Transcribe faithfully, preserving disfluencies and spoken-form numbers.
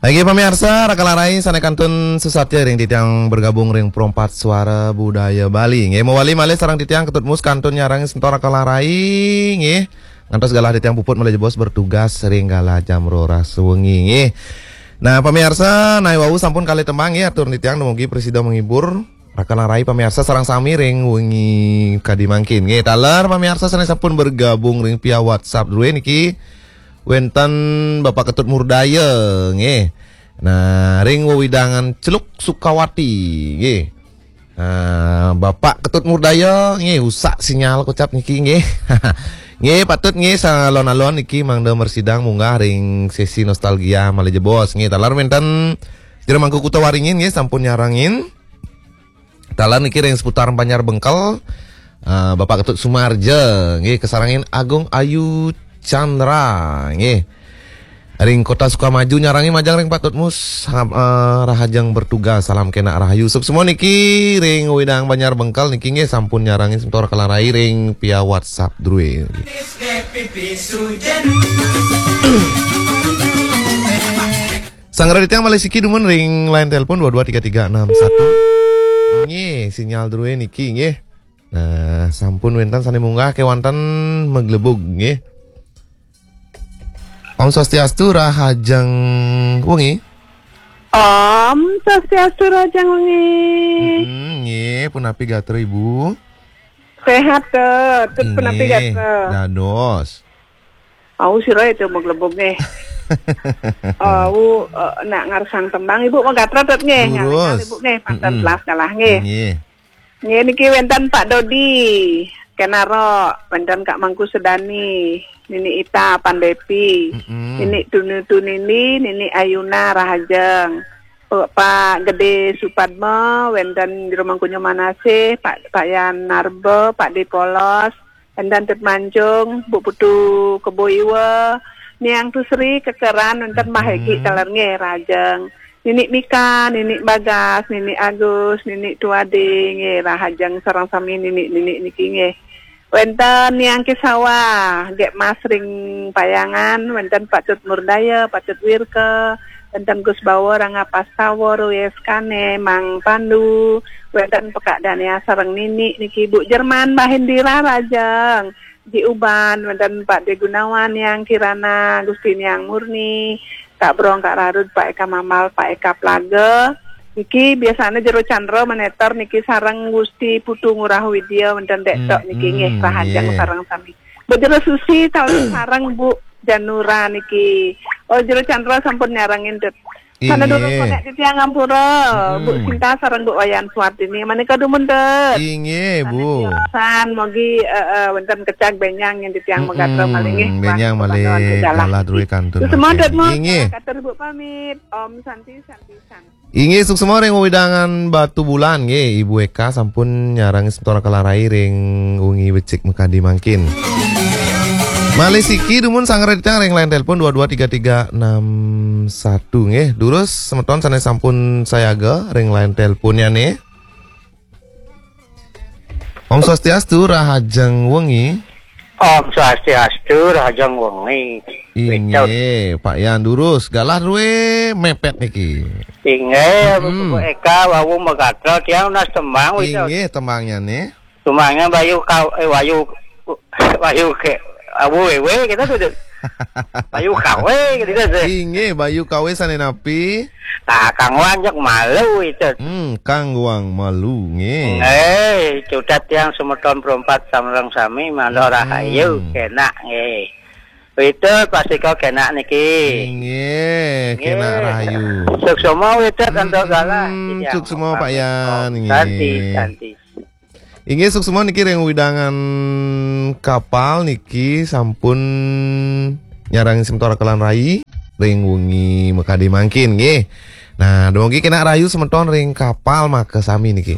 Nggih, pamiarsa, Raka lan Rai sané kantun susatia ring titiang bergabung ring Perempat Suara Budaya Bali. Nggih, mawali malih sareng titiang Ketut Mus kantun nyarengin semeton Raka lan Rai, nggih. Ngantos galah titiang puput malih jebos bertugas ring galah jam roras wengi, nggih. Nah, pamiarsa, napi wau sampun kalih tembang, nggih, atur titiang dumugi prasida menghibur Raka lan Rai pamiarsa sareng sami ring wengi kadi mangkin. Nggih, taler pamiarsa sané sampun bergabung ring via WhatsApp drué niki wénten Bapak Ketut Murdaya, nggih. Nah, ring wewidangan Celuk Sukawati, nggih. Nah, Bapak Ketut Murdaya, nggih, usak sinyal kocap niki, nggih. Nggih, patut nggih salon-alon niki mangda mrasidang munggah ring sesi nostalgia malih jebos, nggih. Taler wénten Jero Mangku Kuta Waringin, nggih, sampun nyarengin. Taler niki ring seputar Banjar Bengkel. Ah, Bapak Ketut Sumarja, nggih, kasarengin Agung Ayu Chandra, nggih. Ring Kota Sukamaju nyarengin majeng ring Pak Ketut Mus, ha-, eh, rahajeng bertugas, salam kénak rahayu. Suksma niki ring wewidangan Banjar Bengkel niki nggih sampun nyarengin semeton Raka lan Rai ring via WhatsApp drué. Sanggra titiang malih siki dumun ring line telepon dua dua tiga tiga enam satu. Nggih, sinyal drué niki nggih. Nah, sampun wénten sané munggah kéwanten maglebug nggih. Om Swastiastu, rahajeng wengi. Om Swastiastu, rahajeng wengi. Mm-mm, nggih, punapi gatra Ibu? Sehat, Tut. Tut, punapi gatra? Dados. Au, sira itu maglebug nggih. Au, eh, nak ngarsang tembang Ibu magatra, Tut, nggih. Durus. Ngarsang Ibu nggih, panten telas kalah nggih. Nggih. Nggih, niki wénten Pak Dodi, Kenaro, wénten Kak Mangku Sedani, Nini Ita Pandepi, Nini Tunu Tunini, Nini Ayuna Rahajeng. Pak Gede Supadma, wénten Jero Mangku Manasih, Pak, Pak Yan Narba, Pak Dipolos, Endan Tut Mancung, Bu Putu Kebo Iwa, Niang Tusri, Kekeran, wénten Mbah Egi, taler nggih, rahajeng. Nini Mika, Nini Bagas, Nini Agus, Nini Tuade, nggih, rahajeng sareng sami nini-nini niki nggih. Wénten Niang Kisawa, Gék Mas ring Payangan, wénten Pak Tut Murdaya, Pak Tut Wirka, wénten Gus Bawa, Rangga Pastawa, Ruyes Kane, Mang Pandu, wénten Pekak Dania sareng nini niki, Bu Jerman, Mbah Indira rahajeng. Ji Uban, wénten Pak De Gunawan, Niang Kirana, Gusti Niang Murni, Kak Brong, Kak Rarud, Pak Eka Mambal, Pak Eka Plaga. Niki biasanya Jero Chandra Maneter niki sareng Gusti Putu Ngurah Widya, wénten Dek Tok niki nggih, rahajeng sareng sami. Bu Jero Susi, taler sareng Bu Janura niki. Oh, Jero Chandra sampun nyarengin, Tut. Sana durung konek titiang ngampura, Bu Sinta sareng Bu Wayan Suwardini. Manika dumun, Tut. Inggih, Bu. Tiosan, mogi, eh, eh, wénten kecag bénjang yén titiang magatra malih nggih. Bénjang malih galah drué kantun. Suksma, Tut, mawon. Inggih. Katur Ibu pamit. Om Santi, Santi, Santi. Inggih, suksma ring wewidangan Batubulan nggih, Ibu Eka sampun nyarengin semeton Raka lan Rai ring wengi becik makadi mangkin. Malih siki dumun sanggra titiang ring line telepon dua dua tiga tiga enam satu nggih. Durus semeton sané sampun sayaga ring line teleponnya nih. Om Swastiastu, rahajeng wengi. Om Swastiastu, rahajeng wengi. Inggih, Pak Yan durus, galah drué mepet niki. Inggih, Bu Eka, wau magatra, tiang nunas tembang, Wicca. Inggih, tembangnya nih. Tembangnya Bayu Kau, eh, Wayu, Wayu ke, Awu Wewe, kita tuh, Dut. Bayu Kawe, gitu, Dut. Inggih, Bayu Kawe sané napi? Nah, Kang Wang jak malu itu. Hmm, Kang Wang malu, nggih. Eh, cutet yang semeton perempat samreng sami, mandor rahayu, kenak, nggih. Itu pasti kau kenak niki. Inggih, kenak rahayu. Suksma, Wicca, antuk galah. Hmm, suksma, Pak Yan, nggih. Santi, santi. Inggih, suksma niki ring wewidangan Kapal niki sampun nyarengin semeton Raka lan Rai ring wengi makadi mangkin nggih. Nah, dumugi kenak rahayu semeton ring Kapal maka sami niki.